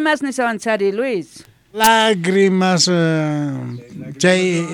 Lágrimas nishawanchari Luis. Lágrimas chay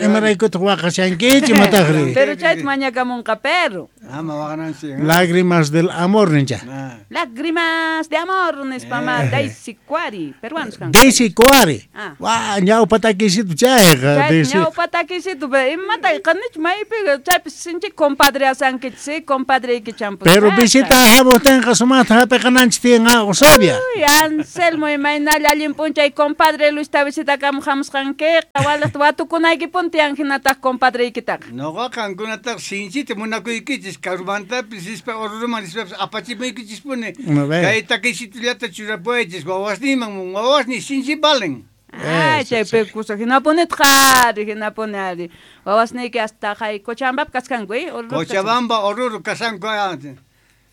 imaraykutaq waqashankichik imataqri? Pero chayta mañakamunqa perro. Ama waqananchik. Lágrimas del amor nincha. Lágrimas de amor nispa ma Daisy Cuari, peruanos kanku. Daisy Cuari. Ah. Wa ñawpa takisitu chayqa. Chay ñawpa takisitu, pero imata qanichu maypi chaypi sinchi compadre asankichik, compadre champu. Pero visita hamuqtinqa sumaqta hapiqananchik tiyan Eusebia. Uy, Anselmo imaynalla allin p'unchay compadre Luis ta visitakamuq hamusqankiqa, waliqta watukunaykipuni tiyan hinataq compadreykitaqa. Noqa qankunataq sinchita munakuykichis, karumantapis rispa Oruroman rispapis apachimuykichispuni. Kay takisitullata churapuwaychis wawasniyman, wawasniy sinchi valen. Ay, chaypi kusa hinapunitaq ari, hinapuni ari. Wawasniyki hasta hay Cochabambapi kasqanku, Oruro. Cochabamba, Oruro kasqanku,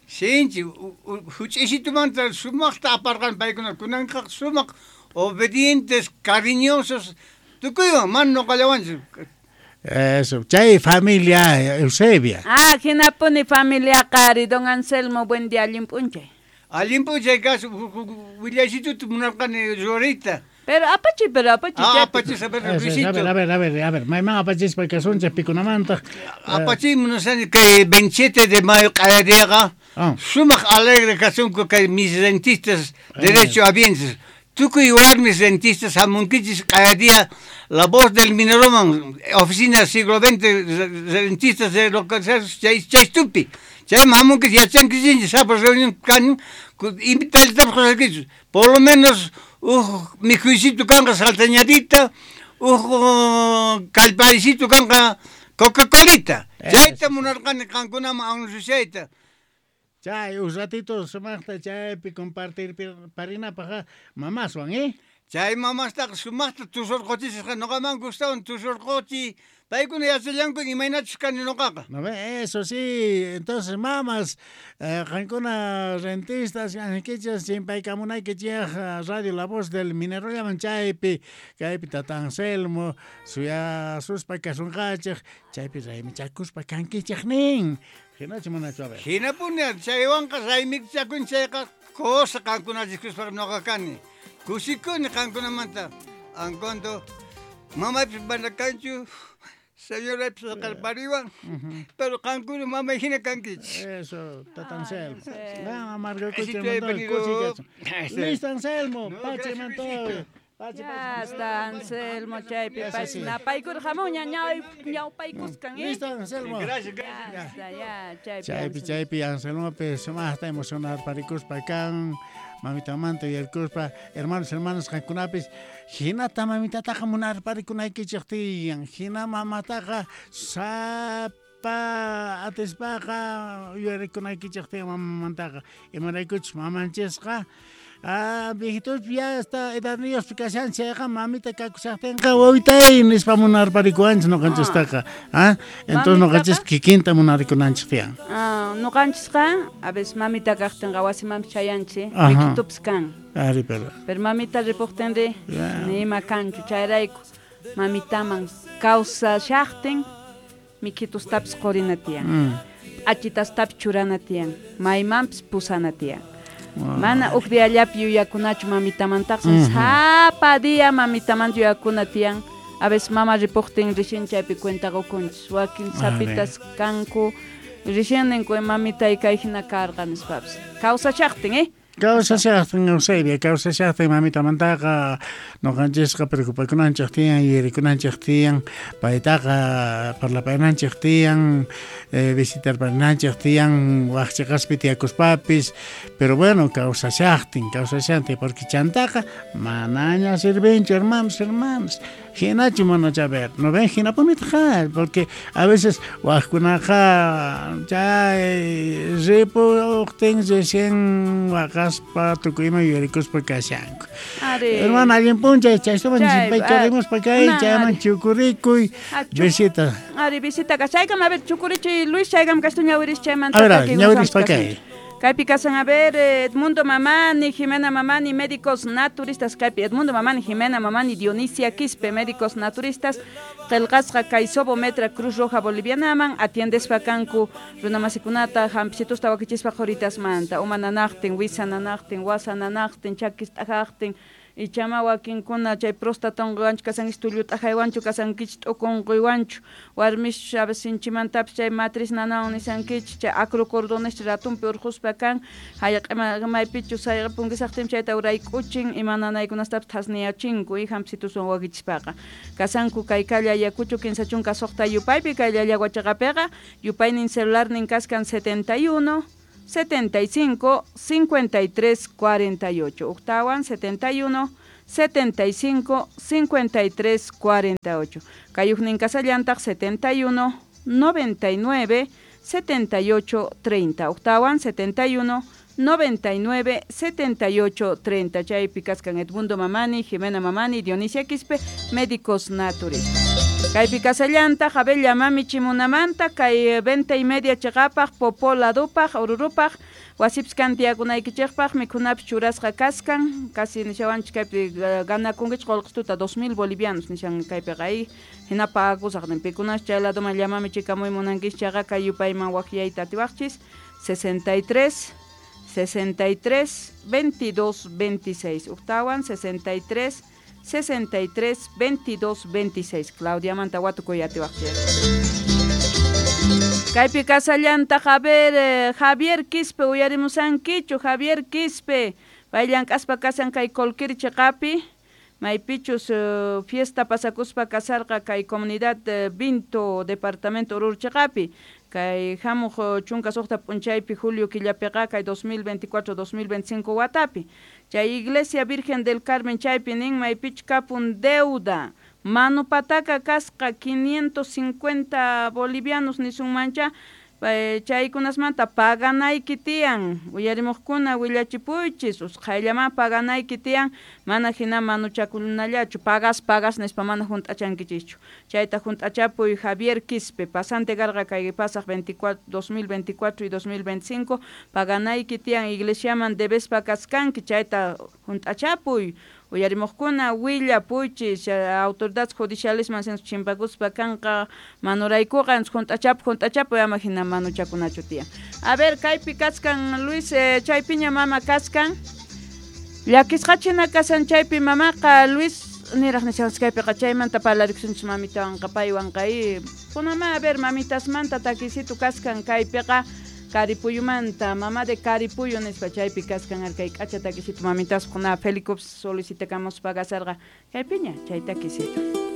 sinchi huch'isitumanta sumaqta aparqan paykuna, kunanqa sumaq obedientes, cariñosos, tukuywan, mana noqallawanchu. Eso, chay familia Eusebia. Ah, hinapuni familia qari, don Anselmo, buen día, allin p'unchay. Allin p'unchay kasu, willasituta munarqani ruwariyta. Pero apachi, pero apachi. Ah, apachi, a ver, Luisito. A ver, a ver, a ver, a ver, mayman apachispa kasunchik pikunamantaq. Apachi munasani kay 27 de mayo q'ayariqa, sumaq alegre kasunku kay mis rentistas derecho habientes. Tukuy warmis rentistas hamunkichis q'ayaria La Voz del Mineroman, oficina siglo XX, rentistas de lo que sea, chaystupi. Chayman hamunkichis, yachankichis, sapa reunión kan, invitallatapas qusaykichis. Por lo menos uj mikhuysitu kanqa salteñadita, uj kallparisitu kanqa Coca-Colita. Chayta munarqani qankunaman anunciayta. Chay, un ratito sumaqta chaypi compartir parinapaq mamaswan, ¿eh? Chay mamastaqa sumaqta tusurquchisqa, noqaman gustawan tusurquchi, paykuna yachallanku imaynachus kani noqaqa. No ve, eso sí, entonces mamas, qankuna rentistas, ankichas, chimpaykamunaykichik Radio La Voz del Minero llaman chaypi, kaypi tata Anselmo, suyasuspa kasunqachik, chaypi raymichakuspa kankichik nin. Hinachu manachu, a ver. Hinapuni, chaywanqa raymichakun chayqa cosa qankunachiskuspa noqa kani. Kusikuni qankunamanta. Anconto, mamaypis mana kanchu, señoraypis qalpariwan, pero qankuna mamay hina kankichis. Eso, tata Anselmo. Ah, amargakucha. Listo, Anselmo, pache mantoy. Ya está Anselmo chaypi pay napaykur hamuña ñawpaykuskan. Listo Anselmo. Gracias, gracias. Ya, chaypi chaypi Anselmo sumaqta emocionar parikuspa kan mamitamanta yuyarikuspa hermanos hermanas qankunapis hinata mamitataqa munarparikunaykichik tiyan hina mamataqa sapa atispaqa yuyarikunaykichik tiyan mamamantaqa imaraykuchus mamanchisqa. Ah, viejitos ya está edadniyuqpi kashan chayqa mamita kakushaqtinqa wawitay nispa munarparikuwanchis noqanchistaqa. Ah, entonces noqanchis kikinta munarikunanchik tiyan. Ah, noqanchisqa a veces mamita kaqtinqa wasimanpis chayanchik, mikitupis kan. Ari, pero. Pero mamita ripuqtinri nima kanchu chayrayku mamitaman kawsashaqtin mikitustapis qurina tiyan. P'achitastapis churana tiyan, maymanpis pusana tiyan. Mana uj diallapi yuyakunachu mamitamantaqa, sapa día mamitamanta yuyakuna tiyan. A veces mama ripuqtin rixin chaypi cuenta qukunchis, wakin sapitas kanku rixin ninku mamitay kay hina karqa nispapis. Kawsashaqtin, ¿eh? Kawsashaqtin, Eusebia, kawsashaqtin mamitamantaqa noqanchisqa preocupakunanchik tiyan, yuyarikunanchik tiyan, paytaqa parlapayananchik tiyan, visitarparinanchik tiyan, waqchiqaspi tiyakuspapis, pero bueno, kawsashaqtin, kawsashaqtin, porque chantaqa manaña sirvinchu, hermanos, hermanas. Hinachu manachu, a ver, no ven hinapunitaq, porque a veces waqkunaqa chay ripuqtin recién waqaspa tukuyma yuyarikuspa kashanku. Hermana, allin p'unchay, chaystuman chimpaycharimuspa kay, chayman chukurikuy, visita. Ari, visita kashaykam, a ver, chukurichiy Luis, chaykam kastu ñawiris chaymanta. A ver, ñawirispa kay. Kaypi kasan, a ver, Edmundo Mamani, Jimena Mamani, médicos naturistas, kaypi Edmundo Mamani, Jimena Mamani, Dionisia Quispe, médicos naturistas, qillqasqa kay Sobo Metra Cruz Roja Bolivianaman, atiendespa kanku runamasikunata, hampicitusta wakichispa qhuritasmanta, uma nanaqtin, wisa nanaqtin, wasa nanaqtin, chakis t'ajaqtin, ichama wakinkuna chay próstata unquywanchu kasankichik, tullu t'ajaywanchu kasankichik, t'uku unquywanchu, warmis a veces sinchimantapis chay matriz nanawan nisankichik, chay acrocordones ratunpi urquspa kan, jayq'ima maypichus jayq'ipunkisaqtin chayta urayk'uchin, ima nanaykunastapis thasniyachinku y hampisituswan wakichispaqa. Kasanku kay calle Ayacucho 36 yupaypi, kay Llallagua yupaynin celularnin kaskan 71 75 53 48. Octawan 71 75 53 48. Kayujnin kasallantaq 71 99 78 30. Octawan 71 99 78 30. Chaypi kaskan Edmundo Mamani, Jimena Mamani, Dionisia Quispe, médicos naturistas. Kaypi kasallantaq Abella Mami Chimunamanta, kay 20:30 chiqapaq, Popó ladupaq, Orurupaq, wasipis kan tiyakunaykichikpaq, mikhunapis churasqa kaskan, casi nishawanchik kaypi ganakunkichik qullqituta 2000 bolivianos nishan kaypiqa ay hina pagakusaq nin pikunash chay laduman llamami chikamuy munankichik chayqa kay yupayman waqyayta atiwaqchis 63 63 22 26. Octawan 63 63 22 26. Claudia manta watukuy atiwaqchik. Kaypi kasallantaq, a ver, Javier Quispe uyarimusankichu, Javier Quispe, pay llank'aspa kasan kay Colquiri chiqapi, maypichus fiesta pasakuspa kasarqa kay comunidad Vinto, departamento Oruro chiqapi, kay hamuq 16 p'unchaypi julio killapiqa kay 2024-2025 watapi. Chay Iglesia Virgen del Carmen chaypi nin maypichu kapun deuda, manu pataka kasqa 550 bolivianos nisunmancha, chaykunasmanta paganayki tiyan, uyarimuqkuna willachipuychis, usqhayllaman paganayki tiyan, mana hina manuchakunallachu, pagas pagas nispa mana hunt'achankichischu. Chayta hunt'achapuy Javier Quispe, pasante karqa kay pasaq 2024 y 2025, paganayki tiyan iglesiaman debespa kaskanki, chayta hunt'achapuy. Uyarimuqkuna willapuychis, autoridades judicialesman chimpakuspa kanqa manuraykuqa hunt'achapuy hunt'achapuy ama hina manuchakunachu tiyan. A ver, kaypi kaskan Luis, chaypiña mama kaskan, llakisqachina kasan chaypi mamaqa Luis niraq nishanchik kaypiqa chaymanta parlarikusunchik mamitawanqa paywanqa y kunama a ver mamitasmanta takisitu kaskan kaypiqa Caripuyumanta, mamá de Caripuyo nispa chaypi kaskan arkay k'acha takisitu mamitas kuna Felicops solicitakamuspa kasarqa kaypiña chay takisitu.